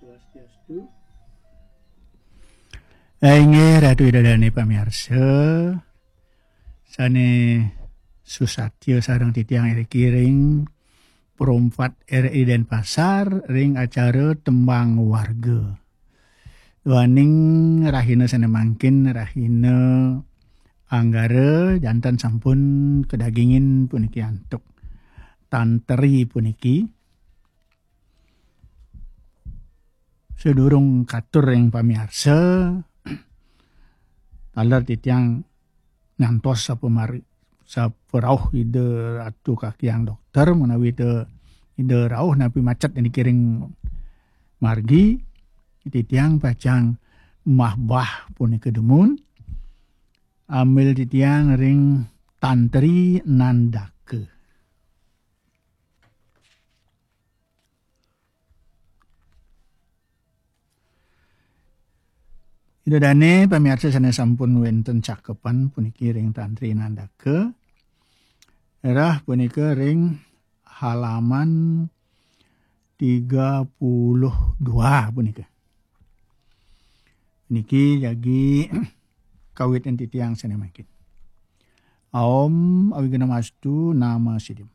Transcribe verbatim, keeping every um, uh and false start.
Swastiastu. Inggih Ratu Ida Dane pamiarsa, sane susatya sareng titiang iriki ring Perumpat R I Denpasar ring acara Tembang Warga. Duaning rahina sane mangkin, rahina Anggara, janten sampun kadagingin puniki antuk tantri puniki. Sadurung katur ring pamiarsa, taler titiang ngantos sapamari-, saparauh Ida Ratu Kakyang Dokter, menawi Ida, Ida rauh napi macet niki ring margi, titiang pacang mahbah punika dumun, ambil titiang ring tantri nandaka. Ida dane pamiarsa sane sampun wenten cakepan puniki ring tantri nandaka, rah punika ring halaman tiga puluh dua punika. Niki jagi kawitin titiang sane mangkin. Om Awighnamastu Nama Siddhim.